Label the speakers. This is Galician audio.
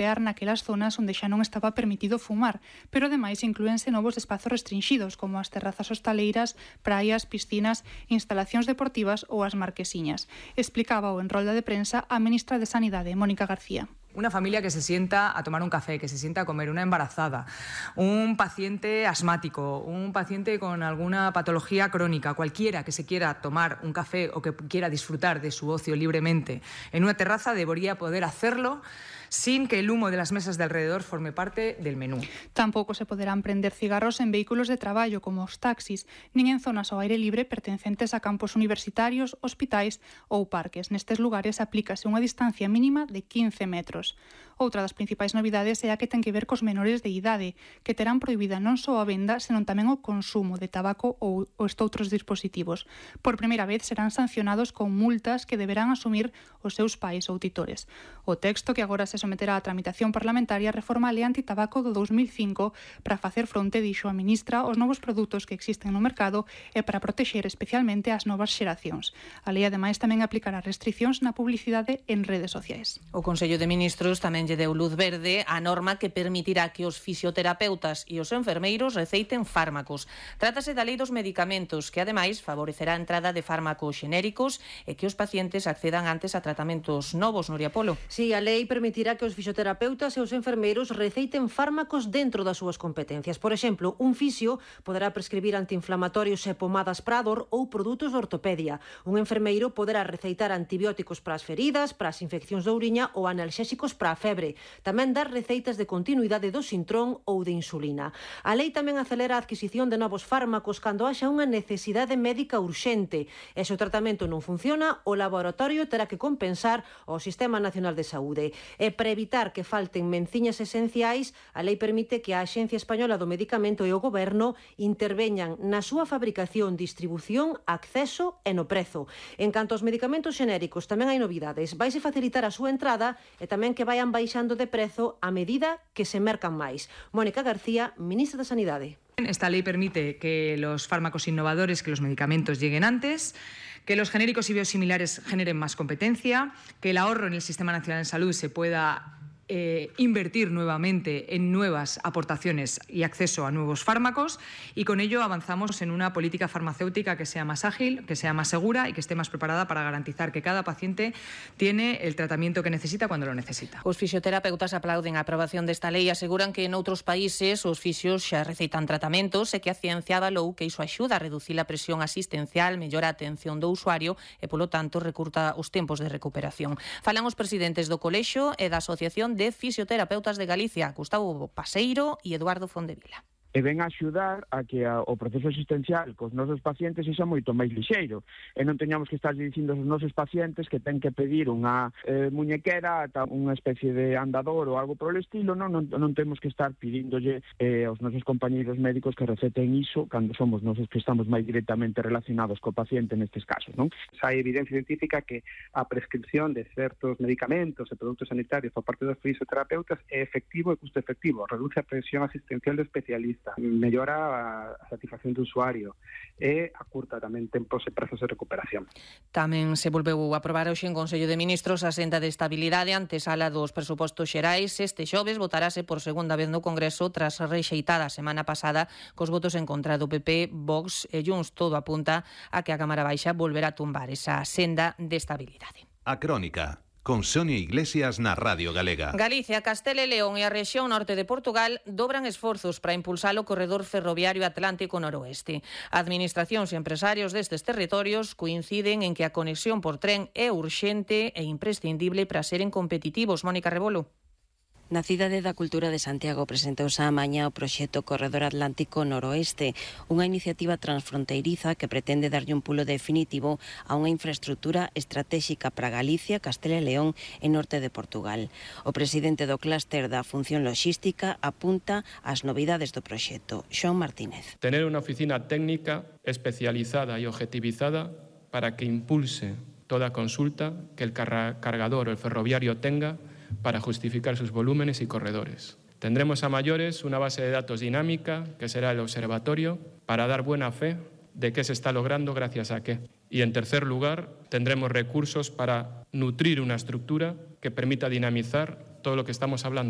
Speaker 1: mapear naquelas zonas onde xa non estaba permitido fumar, pero ademais inclúense novos espazos restringidos como as terrazas hostaleiras, praias, piscinas, instalacións deportivas ou as marquesiñas. Explicaba en rolda de prensa a ministra de Sanidade, Mónica García.
Speaker 2: Una familia que se sienta a tomar un café, que se sienta a comer, una embarazada, un paciente asmático, un paciente con alguna patología crónica, cualquiera que se quiera tomar un café o que quiera disfrutar de su ocio libremente en una terraza debería poder hacerlo sin que el humo de las mesas de alrededor forme parte del menú.
Speaker 1: Tampouco se poderán prender cigarros en vehículos de traballo como os taxis, nin en zonas ao aire libre pertencentes a campos universitarios, hospitais ou parques. Nestes lugares aplícase unha distancia mínima de 15 metros. Outra das principais novidades é a que ten que ver cos menores de idade, que terán prohibida non só a venda, senón tamén o consumo de tabaco ou estoutros dispositivos. Por primeira vez serán sancionados con multas que deberán asumir os seus pais ou titores. O texto que agora se someterá á tramitación parlamentaria reforma a Lei Antitabaco do 2005 para facer fronte, dixo a ministra, aos novos produtos que existen no mercado e para protexer especialmente as novas xeracións. A lei, ademais, tamén aplicará restricións na publicidade en redes sociais.
Speaker 3: O Consello de Ministros tamén lle deu luz verde a norma que permitirá que os fisioterapeutas e os enfermeiros receiten fármacos. Trátase da Lei dos Medicamentos, que ademais favorecerá a entrada de fármacos xenéricos e que os pacientes accedan antes a tratamentos novos, Nuria Polo.
Speaker 4: Sí, a lei permitirá que os fisioterapeutas e os enfermeiros receiten fármacos dentro das súas competencias. Por exemplo, un fisio poderá prescribir antiinflamatorios e pomadas para a dor ou produtos de ortopedia. Un enfermeiro poderá receitar antibióticos para as feridas, para as infeccións de ouriña ou analxésicos para a febre. Tamén dar receitas de continuidade do sintrón ou de insulina. A lei tamén acelera a adquisición de novos fármacos cando haxa unha necesidade médica urxente. E se o tratamento non funciona, o laboratorio terá que compensar ao Sistema Nacional de Saúde. E para evitar que falten menciñas esenciais, a lei permite que a Axencia Española do Medicamento e o Goberno interveñan na súa fabricación, distribución, acceso e no prezo. En canto aos medicamentos xenéricos, tamén hai novidades. Vaise facilitar a súa entrada e tamén que vayan baixando de prezo a medida que se mercan máis. Mónica García, ministra de Sanidade.
Speaker 2: Esta ley permite que los fármacos innovadores, que los medicamentos lleguen antes, que los genéricos y biosimilares generen más competencia, que el ahorro en el Sistema Nacional de Salud se pueda invertir nuevamente en nuevas aportaciones y acceso a nuevos fármacos, y con ello avanzamos en una política farmacéutica que sea más ágil, que sea más segura y que esté más preparada para garantizar que cada paciente tiene el tratamiento que necesita cuando lo necesita.
Speaker 3: Os fisioterapeutas aplauden a aprobación desta lei e aseguran que en outros países os fisios xa receitan tratamentos e que a ciencia avalou que iso axuda a reducir a presión asistencial, mellora a atención do usuario e, polo tanto, recurta os tempos de recuperación. Falan os presidentes do Colexio e da Asociación de Fisioterapeutas de Galicia, Gustavo Paseiro e Eduardo Fondevila.
Speaker 5: E ven a axudar a que o proceso asistencial cos nosos pacientes sexa moito máis lixeiro e non teñamos que estar dicindo aos nosos pacientes que ten que pedir unha muñequera, unha especie de andador ou algo por el estilo. Non temos que estar pidíndolle aos nosos compañeiros médicos que receten iso cando somos nosos que estamos máis directamente relacionados co paciente nestes casos, non?
Speaker 6: Hai evidencia científica que a prescripción de certos medicamentos e produtos sanitarios por parte dos fisioterapeutas é efectivo e custo efectivo, reduce a presión asistencial do especialista, mellora a satisfacción do usuario e acurta tamén tempos e prazos de recuperación.
Speaker 3: Tamén se volveu a aprobar hoxe en Consello de Ministros a senda de estabilidade antesala dos presupostos xerais. Este xoves votarase por segunda vez no Congreso tras rexeitada a semana pasada cos votos en contra do PP, Vox e Junts. Todo apunta a que a Cámara Baixa volverá a tumbar esa senda de estabilidade.
Speaker 7: A Crónica, con Sonia Iglesias na Radio Galega.
Speaker 3: Galicia, Castela e León e a rexión norte de Portugal dobran esforzos para impulsar o corredor ferroviario Atlántico Noroeste. Administracións e empresarios destes territorios coinciden en que a conexión por tren é urxente e imprescindible para seren competitivos. Mónica Rebolo.
Speaker 8: Na Cidade da Cultura de Santiago presentouse a mañá o proxecto Corredor Atlántico Noroeste, unha iniciativa transfronteiriza que pretende darlle un pulo definitivo a unha infraestructura estratéxica para Galicia, Castela e León e norte de Portugal. O presidente do clúster da función logística apunta ás novidades do proxecto. Xoán Martínez.
Speaker 9: Tener unha oficina técnica especializada e objetivizada para que impulse toda consulta que el cargador o el ferroviario tenga para justificar sus volúmenes y corredores. Tendremos a mayores una base de datos dinámica, que será el observatorio, para dar buena fe de qué se está logrando gracias a qué. Y en tercer lugar, tendremos recursos para nutrir una estructura que permita dinamizar todo lo que estamos hablando.